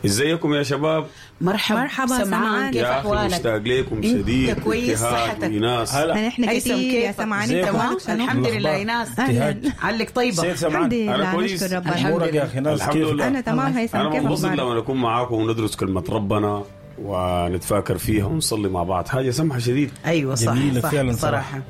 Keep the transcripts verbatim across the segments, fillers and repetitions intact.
ازيكم يا شباب؟ مرحبا مرحبا سمعان، سمعان. كيف يا اخي احوالك؟ مشتاق لكم انت شديد. كويس؟ ابتهاج صحتك؟ وإيناس. هلا. نحن هيثم كثير يا كيفك؟ سمعان، انت ازيكم؟ مالك شنو؟ الحمد لله الأخبار؟ ايناس. أهلاً. علك طيبة. سيد سمعان. الحمد لله أنا كويس. نشكر ربنا. الحمد امورك يا اخي ناس الحمد كيف؟ لله. انا تمام هيثم، انا كيف منبسط اخبارك؟ لما نكون معاكم وندرس كلمة ربنا ونتفاكر فيها ونصلي مع بعض، حاجة سمحه شديد. ايوه صح جميلة صح فعلاً صراحة.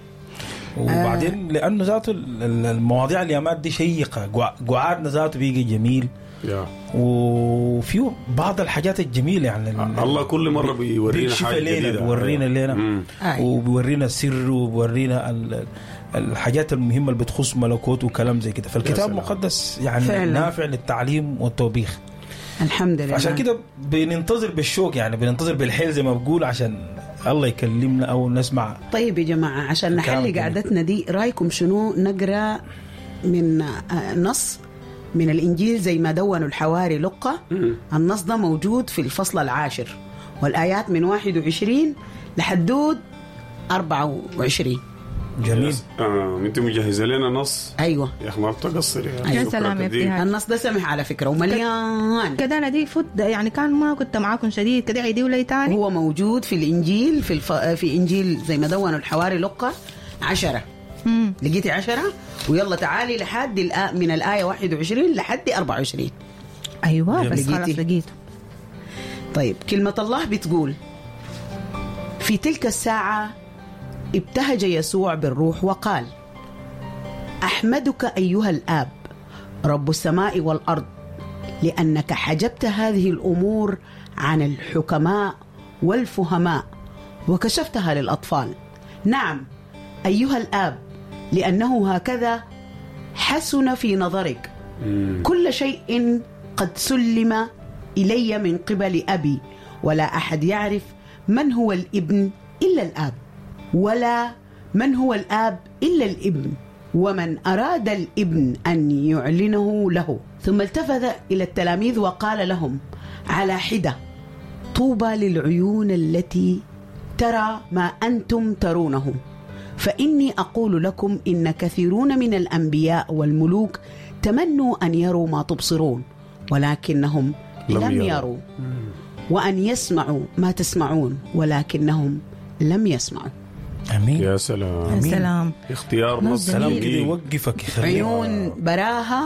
وبعدين لانه ذاته ال- ال- المواضيع اليامات دي شيقة، قع- قعادنا ذاته بيجي جميل، يا وفيه بعض الحاجات الجميلة يعني ال- الله كل مرة بيورينا بيكشف حاجة لنا جديدة. بيورينا لنا مم. أيوة. وبيورينا السر وبيورينا ال- الحاجات المهمة اللي بتخص ملكوت وكلام زي كده. فالكتاب سلام. المقدس يعني فعلاً. نافع للتعليم والتوبيخ. الحمد لله. عشان كده بننتظر بالشوق، يعني بننتظر بالحيل زي ما بقول، عشان الله يكلمنا او نسمع. طيب يا جماعة، عشان الكلام نحلي الجميل. قعدتنا دي، رايكم شنو نقرا من آه، نص من الانجيل زي ما دونوا الحواري لقة؟ النص ده موجود في الفصل العاشر والايات من واحد وعشرين لحدود أربعة وعشرين. جميل. آه، انت مجهزة لنا نص؟ ايوه. يا اخي ما بتقصر يا يا شكرا سلام يا كثير. ابتهاج. النص ده سمح على فكرة ومليان. كده انا دي فوت يعني، كان ما كنت معاكم شديد كده، عيدي ولي تاني. هو موجود في الانجيل في الف... في انجيل زي ما دونوا الحواري لقة عشرة. مم. لقيتي عشرة؟ ويلا تعالي لحد الآ... من الآية واحد وعشرين لحد أربعة وعشرين. ايوه بس لقيتي؟ خلاص لقيته. طيب، كلمة الله بتقول: في تلك الساعة ابتهج يسوع بالروح وقال: أحمدك أيها الآب، رب السماء والأرض، لأنك حجبت هذه الأمور عن الحكماء والفهماء وكشفتها للأطفال. نعم أيها الآب، لأنه هكذا حسن في نظرك. كل شيء قد سلم إلي من قبل أبي، ولا أحد يعرف من هو الابن إلا الآب، ولا من هو الآب إلا الابن ومن أراد الابن أن يعلنه له. ثم التفت إلى التلاميذ وقال لهم على حدة: طوبى للعيون التي ترى ما أنتم ترونه، فإني أقول لكم إن كثيرون من الأنبياء والملوك تمنوا أن يروا ما تبصرون ولكنهم لم لم يروا. يروا، وأن يسمعوا ما تسمعون ولكنهم لم يسمعوا. امين. يا سلام. يا سلام. اختيار نص كلام كده جميل. يوقفك، يخليك عيون براها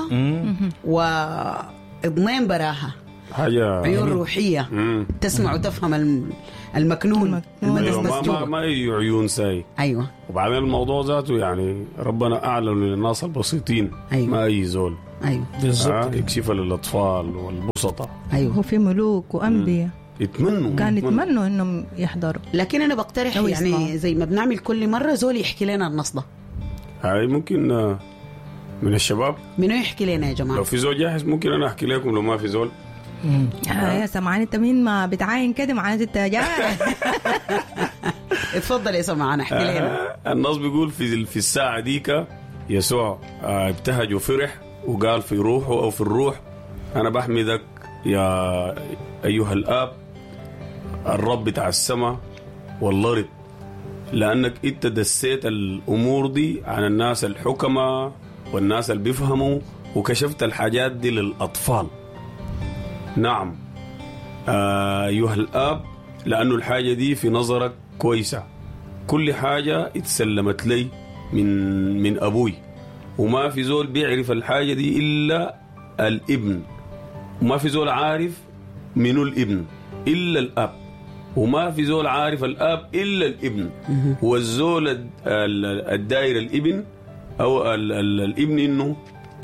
وإضنين براها. حاجة عيون روحية مم. تسمع وتفهم الم- المكنون. المكنون. أيوة، المدسدس ما, ما, جوا. ما أي عيون ساي. أيوة. وبعدين الموضوع ذاته يعني ربنا اعلن للناس البسيطين. أيوة. ما اي زول. أيوة. بالضبط. آه يكشفها للاطفال والبسطاء. أيوة. هو في ملوك وانبياء يتمنوا. كان يتمنوا انهم يحضروا. لكن انا بقترح أو يعني يسمعوا. زي ما بنعمل كل مرة، زول يحكي لنا النص ده. هاي ممكن آه، من الشباب. منو يحكي لنا يا جماعة؟ لو في زول جاهز ممكن انا احكي لكم، لو ما في زول آه يا سمعان، انت مين ما بتعاين كده معناته انت جاهز. اتفضل يا سمعان، احكي لنا. آه، النص بيقول في في الساعة ديك يسوع آه، ابتهج وفرح وقال في روحه أو في الروح: أنا بحمدك يا أيها الآب، الرب بتاع السماء والأرض، لأنك أنت دسيت الأمور دي عن الناس الحكماء والناس اللي بيفهموا وكشفت الحاجات دي للأطفال. نعم آه، أيها الآب، لأنه الحاجة دي في نظرك كويسة. كل حاجة اتسلمت لي من من أبوي، وما في زول بيعرف الحاجة دي إلا الابن، وما في زول عارف منو الابن إلا الأب، وما في زول عارف الاب الا الابن والزول الد- ال- الداير الابن او ال ال الابن انه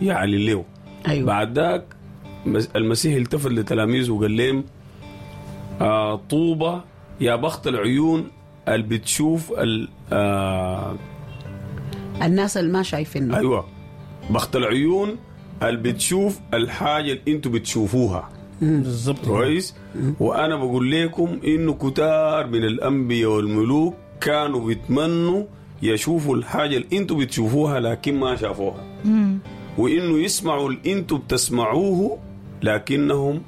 يعلن له. أيوة. بعد ذاك مس- المسيح التفت لتلاميذه وقال لهم: آه طوبى يا بخت العيون اللي بتشوف ال- آه الناس اللي ما شايفينه. ايوه، بخت العيون اللي بتشوف الحاجة اللي انتوا بتشوفوها. بالضبط. كويس، وانا بقول لكم انه كتار من الانبياء والملوك كانوا بيتمنوا يشوفوا الحاجة اللي انتوا بتشوفوها لكن ما شافوها، وانه يسمعوا اللي انتوا بتسمعوه لكنهم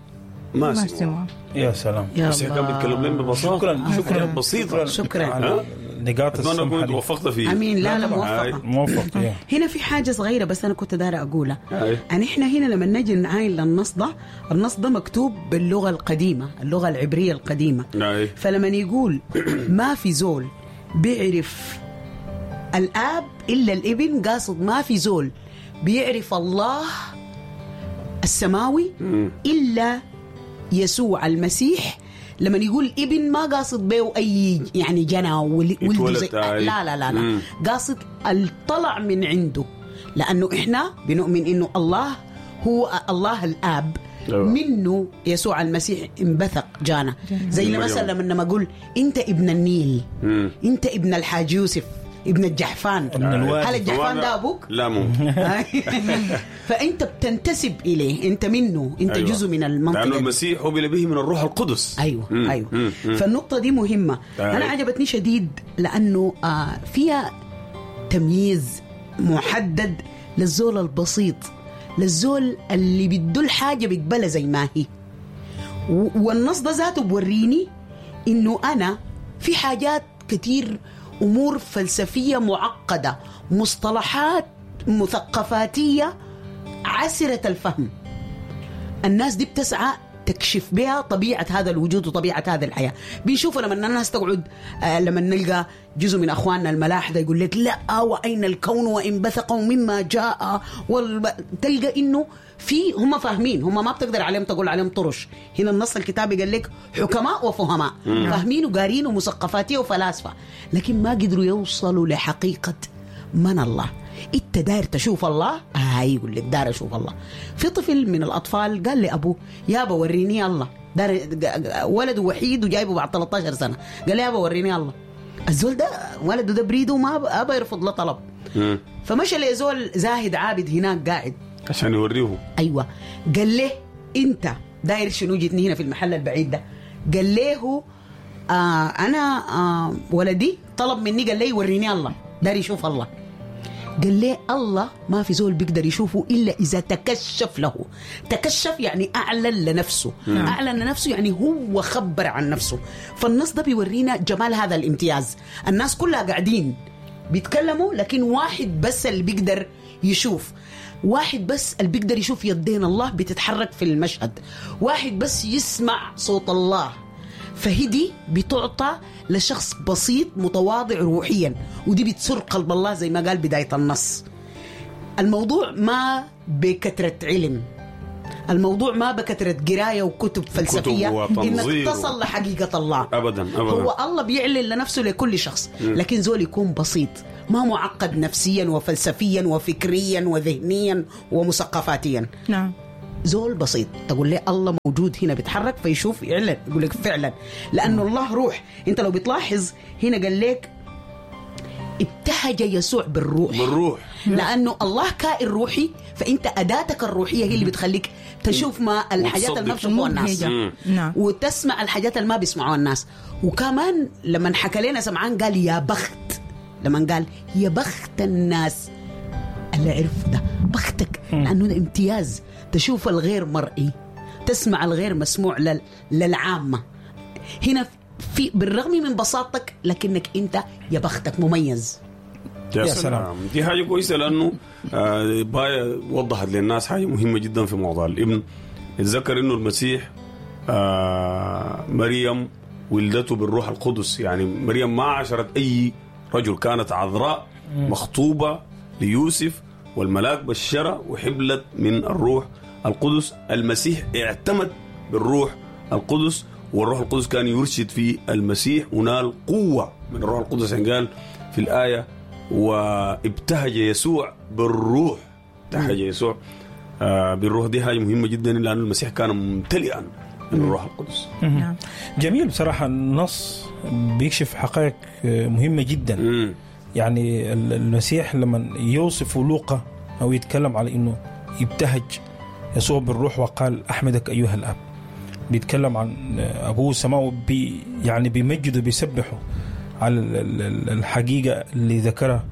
ما ما سمعوا. سمعوا. يا سلام. يا بس كان بيتكلم لهم ببساطة. شكرا شكرا. بسيطة. شكراً. على ها؟ النقاط اتمنى اكون السمحة دي. توفقت فيه. امين. لا لا طبعاً. موفقة. موفق يا. هنا في حاجة صغيرة بس أنا كنت دايرة أقولها. أي. أن إحنا هنا لما نجي نعاين للنص ده، النص ده مكتوب باللغة القديمة، اللغة العبرية القديمة. أي. فلما يقول ما في زول بيعرف الآب إلا الابن، قاصد ما في زول بيعرف الله السماوي إلا يسوع المسيح. لما يقول ابن ما قاصد به أي يعني جنى ول- ولده يتولد زي أي. لا لا لا لا مم. قاصد الطلع من عنده، لأنه إحنا بنؤمن إنه الله هو الله الآب، أيوة. منه يسوع المسيح انبثق جانا. زي من مريم. مثلا لما أقول أنت ابن النيل، مم. أنت ابن الحاج يوسف، ابن الجحفان. ابن الوادي. هل الجحفان ده أبوك؟ لا ممكن. فأنت بتنتسب إليه، أنت منه، أنت أيوة. جزء من المنطقة لأنه دي. المسيح حبل به من الروح القدس. ايوه مم. ايوه مم. مم. فالنقطه دي مهمة. أيوة. انا عجبتني شديد لانه آه فيها تمييز محدد للزول البسيط، للزول اللي بده الحاجة بيقبلها زي ما هي. و- والنص ده ذاته بوريني انه انا في حاجات كتير، امور فلسفية معقدة، مصطلحات مثقفاتيه عسره الفهم، الناس دي بتسعى تكشف بها طبيعة هذا الوجود وطبيعة هذه الحياة. بنشوفه لما الناس تقعد، آه لما نلقى جزء من أخواننا الملاحدة يقول لك لا وأين الكون وانبثق مما جاء والب... تلقى إنه في هم فاهمين، هم ما بتقدر عليهم تقول عليهم طرش. هنا النص الكتابي قال لك حكماء وفهماء، فاهمين وقارين ومثقفاتية وفلاسفة، لكن ما قدروا يوصلوا لحقيقة من الله. انت داير تشوف الله؟ آه يقول لك داير اشوف الله. في طفل من الاطفال قال لابوه يابا وريني الله، دار ولده وحيد وجايبه بعد ثلاثة عشر سنة، قال له يابا وريني الله. الزول ده ولده ده بريدة وما ابى يرفض له طلب. مم. فمشى لزول زاهد عابد هناك قاعد عشان يوريه. ايوه، قال له انت داير شنو جيتني هنا في المحل البعيد ده؟ قال له آه انا آه ولدي طلب مني، قال لي وريني الله، داير يشوف الله. قال لي الله ما في زول بيقدر يشوفه إلا إذا تكشف له. تكشف يعني أعلن لنفسه. نعم. أعلن لنفسه يعني هو خبر عن نفسه. فالنص ده بيورينا جمال هذا الامتياز. الناس كلها قاعدين بيتكلموا، لكن واحد بس اللي بيقدر يشوف، واحد بس اللي بيقدر يشوف يدين الله بتتحرك في المشهد، واحد بس يسمع صوت الله. فهدي بتعطى لشخص بسيط متواضع روحيا، ودي بتسر قلب الله زي ما قال بداية النص. الموضوع ما بكثرة علم، الموضوع ما بكثرة قراية وكتب فلسفية إنك تصل لحقيقة الله. أبدا أبدا. هو الله بيعلن لنفسه لكل شخص، لكن زول يكون بسيط ما معقد نفسيا وفلسفيا وفكريا وذهنيا ومثقفاتيا. نعم. زول بسيط تقول لي الله موجود هنا بيتحرك فيشوف يعلن يقول لك فعلا، لأنه الله روح. أنت لو بتلاحظ هنا قال لك ابتهج يسوع بالروح، بالروح، لأنه الله كائن روحي، فأنت أداتك الروحية هي اللي بتخليك تشوف ما الحاجات اللي ما بيشوفوها الناس، نعم، وتسمع الحاجات اللي ما بيسمعوها الناس. وكمان لما حكى لنا سمعان قال يا بخت، لما قال يا بخت الناس اللي عرف ده، بختك، لأنه ده امتياز، تشوف الغير مرئي، تسمع الغير مسموع لل... للعامة. هنا في بالرغم من بساطتك لكنك أنت يا بختك مميز. يا سلام. دي حاجة كويسة، لأنه آه باية وضحت للناس حاجة مهمة جدا في موضوع الابن. اتذكر إنه المسيح آه مريم ولدته بالروح القدس، يعني مريم ما عاشرت أي رجل، كانت عذراء مخطوبة ليوسف، والملاك بشرها وحبلت من الروح القدس. المسيح اعتمد بالروح القدس، والروح القدس كان يرشد في المسيح ونال قوة من الروح القدس. يعني قال في الآية وابتهج يسوع بالروح، ابتهج يسوع آه بالروح. دي حاجة مهمة جدا، لأن المسيح كان ممتلئا من الروح القدس. نعم. جميل بصراحة، النص بيكشف حقائق مهمة جدا. مم. يعني المسيح لما يوصف لوقا أو يتكلم على إنه يبتهج يسوع بالروح وقال أحمدك أيها الأب، بيتكلم عن أبوه السماوي، بي يعني بيمجده بيسبحه على الحقيقة اللي ذكرها،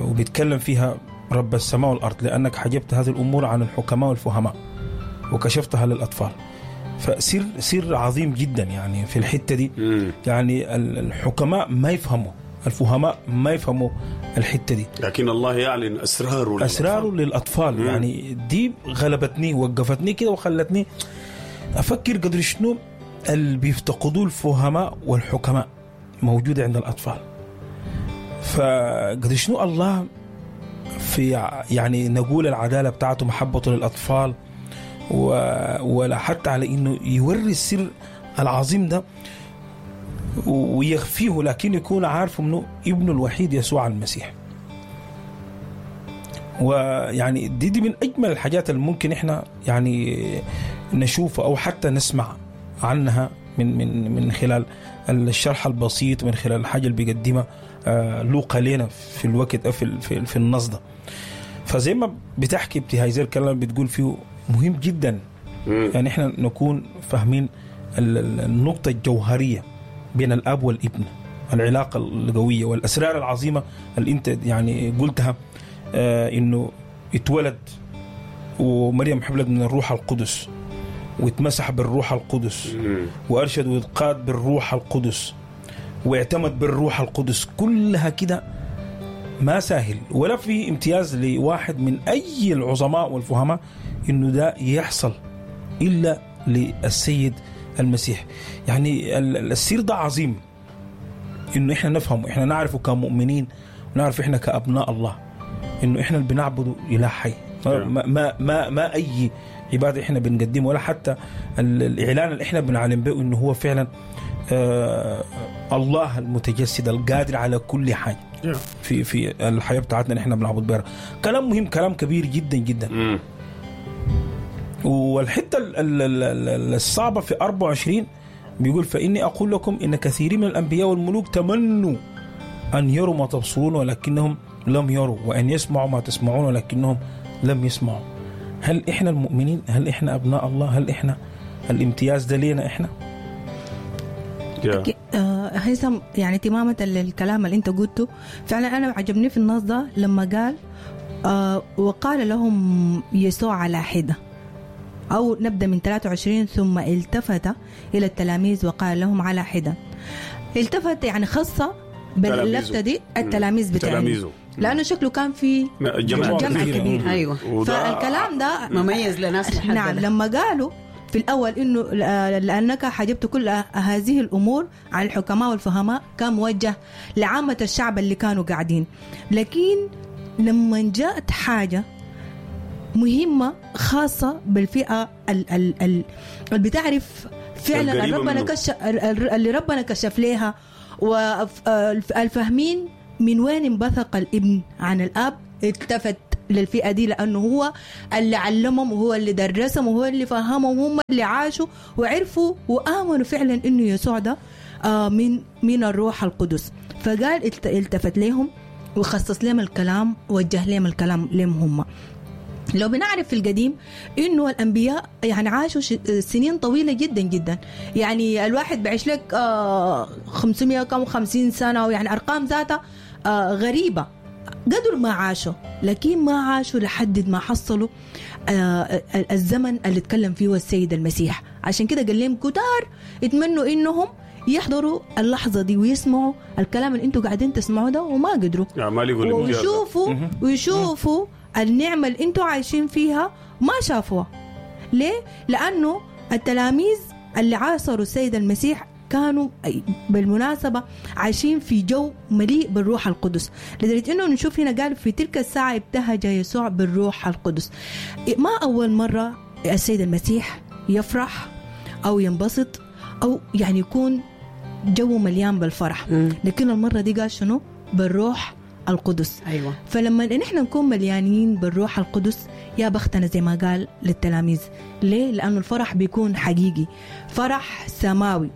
وبيتكلم فيها رب السماء والأرض، لأنك حجبت هذه الأمور عن الحكماء والفهماء وكشفتها للأطفال. فسر سر عظيم جدا يعني في الحتة دي. مم. يعني ال- الحكماء ما يفهموا، الفهماء ما يفهموا الحتة دي، لكن الله يعلن اسراره للأطفال. اسراره للاطفال. مم. يعني دي غلبتني، وقفتني كده وخلتني افكر قدر شنو اللي بيفتقدوه الفهماء والحكماء موجودة عند الاطفال. فقدر شنو الله في يعني نقول العدالة بتاعته، محبته للاطفال، و... ولا حتى على انه يوري السر العظيم ده ويخفيه، لكن يكون عارف منه ابنه الوحيد يسوع المسيح. ويعني دي دي من اجمل الحاجات اللي ممكن احنا يعني نشوفها او حتى نسمع عنها من من من خلال الشرح البسيط، من خلال الحاجة اللي بيقدمها آه، لوقا لنا في الوقت او في في, في النص ده. فزي ما بتحكي ابتهاج الكلام اللي بتقول فيه مهم جدا، مم. يعني احنا نكون فاهمين ال- ال- النقطة الجوهرية بين الأب والابن، العلاقة القوية والأسرار العظيمة اللي أنت يعني قلتها، آه إنه اتولد ومريم حبلت من الروح القدس، واتمسح بالروح القدس، مم. وأرشد واتقاد بالروح القدس، واعتمد بالروح القدس. كلها كده ما سهل، ولا في امتياز لواحد من أي العظماء والفهماء إنه ده يحصل إلا للسيد المسيح. يعني ال- ال- السير ده عظيم إنه إحنا نفهمه، إحنا نعرفه كمؤمنين، ونعرف إحنا كأبناء الله إنه إحنا اللي بنعبده إله حي. ما ما ما, ما أي عبادة إحنا بنقدمه، ولا حتى ال- الإعلان اللي إحنا بنعلن به إنه هو فعلا آه الله المتجسد القادر على كل حاجة Yeah. في في الحياة بتاعتنا اللي إحنا بنعبد بها. كلام مهم، كلام كبير جدا جدا. مم. والحتة ال- ال- ال- ال- الصعبة في أربعة وعشرين بيقول فاني اقول لكم ان كثيرين من الانبياء والملوك تمنوا ان يروا ما تبصرون ولكنهم لم يروا، وان يسمعوا ما تسمعون ولكنهم لم يسمعوا. هل احنا المؤمنين، هل احنا ابناء الله، هل احنا الامتياز ده لينا احنا؟ Yeah. آه، هيثم، يعني تماما للكلام اللي انت قلته، فعلا انا عجبني في النص ده لما قال آه وقال لهم يسوع على حده، او نبدا من ثلاثة وعشرين، ثم التفت الى التلاميذ وقال لهم على حده. التفت يعني خاصة باللفته دي التلاميذ بتاعهم، تلاميذه. لانه شكله كان في جمع جمع كبيرة. كبير. ايوه وده- فالكلام ده مميز لناس محددة. نعم، لما قالوا في الأول إنه لأنك حجبت كل هذه الأمور عن الحكماء والفهماء، كان موجه لعامة الشعب اللي كانوا قاعدين. لكن لما جاءت حاجة مهمة خاصة بالفئة ال ال ال اللي بتعرف فعلا القريبة ربنا منه. كشف، اللي ربنا كشف لها، والفاهمين من وين انبثق الابن عن الاب، التفت للفئة دي لأنه هو اللي علمهم وهو اللي درسهم وهو اللي فهمهم، وهم اللي عاشوا وعرفوا وآمنوا فعلا إنه يسوع ده آه، من من الروح القدس. فقال الت- التفت لهم وخصص لهم الكلام، وجه لهم الكلام لهم هم. لو بنعرف في القديم انه الانبياء يعني عاشوا ش- سنين طويلة جدا جدا، يعني الواحد بعيش لك آه، خمسمية كم خمسين سنة، ويعني ارقام ذاتها آه، غريبة قدر ما عاشوا، لكن ما عاشوا لحد ما حصلوا آه، الزمن اللي اتكلم فيه السيد المسيح. عشان كده قال لهم كتار يتمنوا انهم يحضروا اللحظة دي ويسمعوا الكلام اللي انتوا قاعدين تسمعوه ده، وما قدروا. يعني ما لقوا الامتياز ده. ويشوفوا ويشوفوا النعمة اللي انتوا عايشين فيها ما شافوها. ليه؟ لأنه التلاميذ اللي عاصروا السيد المسيح كانوا بالمناسبة عايشين في جو مليء بالروح القدس، لدرجة انه نشوف هنا قال في تلك الساعة ابتهج يسوع بالروح القدس. ما أول مرة السيد المسيح يفرح أو ينبسط أو يعني يكون جو مليان بالفرح، مم. لكن المرة دي قال شنو؟ بالروح القدس. ايوه فلما نحن نكون مليانين بالروح القدس يا بختنا زي ما قال للتلاميذ. ليه؟ لأنه الفرح بيكون حقيقي، فرح سماوي،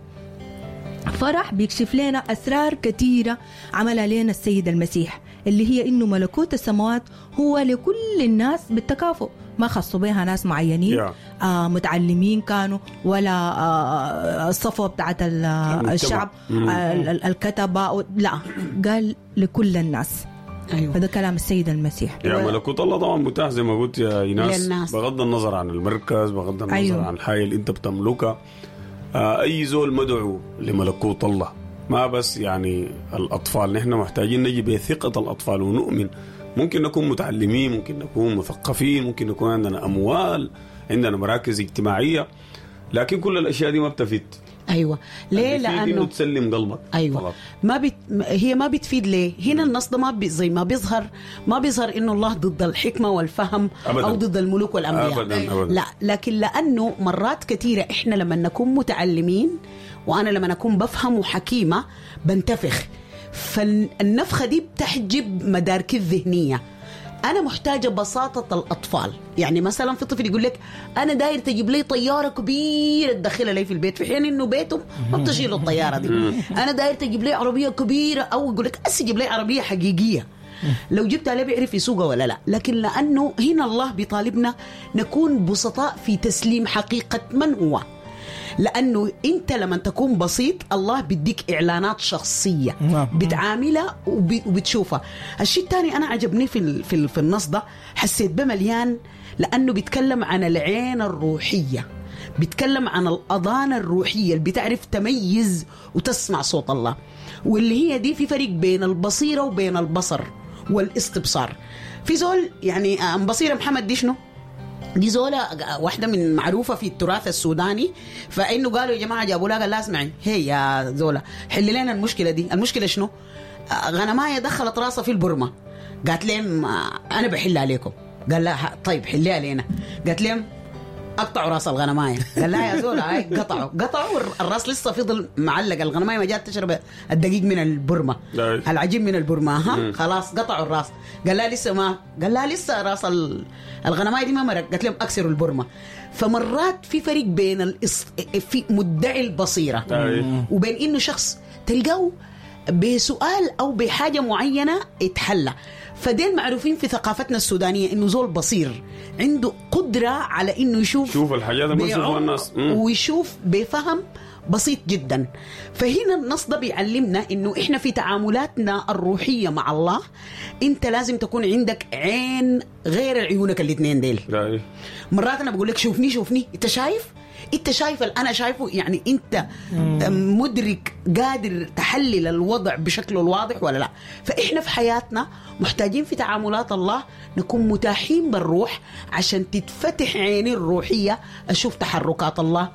فرح بيكشف لنا أسرار كثيرة عملها لنا السيد المسيح، اللي هي إنه ملكوت السماوات هو لكل الناس بالتكافؤ، ما خصوا بها ناس معينين Yeah. آه متعلمين كانوا ولا آه الصفوة بتاعت ال- المجتمع. الشعب مم. آه ال- ال- الكتبة، لا، قال لكل الناس. أيوة. فده كلام السيد المسيح. يا ملكوت الله طبعا متاح زي ما قلت يا ايناس، للناس. بغض النظر عن المركز، بغض النظر أيوة. عن الحاجة اللي انت بتملكها. آه، اي زول مدعو لملكوت الله، ما بس يعني الاطفال. نحن محتاجين نجي بثقة الاطفال ونؤمن. ممكن نكون متعلمين، ممكن نكون مثقفين، ممكن نكون عندنا اموال، عندنا مراكز اجتماعية، لكن كل الاشياء دي ما بتفيد. ايوه. ليه؟ اللي بيفيد لانه إنه تسلم قلبك. ايوه فقط. ما بت... هي ما بتفيد. ليه؟ هنا النص ده ما بي... زي ما بيظهر، ما بيظهر انه الله ضد الحكمة والفهم أبداً. او ضد الملوك والانبياء. أبداً، أبداً. لا، لكن لانه مرات كثيرة احنا لما نكون متعلمين، وانا لما اكون بفهم وحكيمه بنتفخ، فالنفخه دي بتحجب مداركي الذهنية. انا محتاجه بساطة الاطفال. يعني مثلا في طفل يقول لك انا داير تجيب لي طيارة كبيرة تدخلها لي في البيت، في حين انه بيتهم ما بتشيل الطيارة دي. انا داير تجيب لي عربية كبيرة، او يقول لك اسي جيب لي عربية حقيقية، لو جبتها لا بيعرف يسوقها ولا لا. لكن لانه هنا الله بيطالبنا نكون بسطاء في تسليم حقيقة من هو، لانه انت لما تكون بسيط الله بيديك اعلانات شخصية نعم. بتعاملها وب- وبتشوفها. الشيء الثاني انا عجبني في ال- في ال- في النص ده، حسيت بمليان، لانه بيتكلم عن العين الروحية، بيتكلم عن الاذان الروحية اللي بتعرف تميز وتسمع صوت الله، واللي هي دي في فرق بين البصيرة وبين البصر والاستبصار. في زول يعني آه، بصيرة محمد دي شنو؟ دي زولة واحدة من معروفة في التراث السوداني، فإنه قالوا يا جماعة جابوا لها، قال لها اسمعي هي يا زولة حل لنا المشكلة دي. المشكلة شنو؟ آه، غنماية دخلت راسها في البرمة. قالت لهم آه، أنا بحلها لكم. قال لها طيب حليها لنا. قالت لهم قطعوا راس الغنمايه. قال لها يا زول هاي قطعوا قطعوا الراس لسه فضل معلق، الغنمايه ما جات تشرب الدقيق من البرمة، أي. العجين من البرمة. ها خلاص قطعوا الراس. قال لها لسه ما، قال لها لسه راس ال- الغنمايه دي ما مرق. قالت لهم اكسروا البرمة. فمرات في فرق بين الإص... في مدعي البصيرة أي. وبين انه شخص تلقاه بسؤال او بحاجة معينة اتحلى. فدين معروفين في ثقافتنا السودانية انه زول بصير، عنده قدره على انه يشوف شوف الحاجات اللي ما يشوفوها بعمق الناس. مم. ويشوف بفهم بسيط جدا. فهنا النص ده بيعلمنا انه احنا في تعاملاتنا الروحية مع الله انت لازم تكون عندك عين غير عيونك الاثنين ديل. أي. مرات انا بقول لك شوفني شوفني، انت شايف؟ انت شايف اللي انا شايفه؟ يعني انت مدرك قادر تحلل الوضع بشكله الواضح ولا لا؟ فاحنا في حياتنا محتاجين في تعاملات الله نكون متاحين بالروح عشان تتفتح عيني الروحية اشوف تحركات الله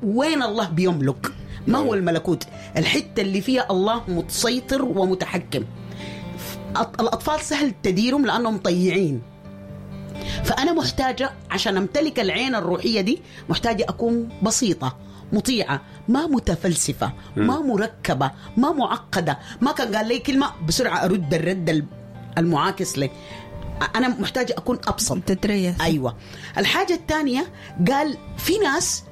وين الله بيملك، ما هو الملكوت، الحتة اللي فيها الله متسيطر ومتحكم. الاطفال سهل تديرهم لانهم طيعين، فأنا محتاجة عشان أمتلك العين الروحية دي محتاجة أكون بسيطة مطيعة، ما متفلسفة، ما مركبة، ما معقدة، ما كان قال لي كلمة بسرعة أرد الرد المعاكس لي. أنا محتاجة أكون أبسط. تتريث. أيوة. الحاجة الثانية قال في ناس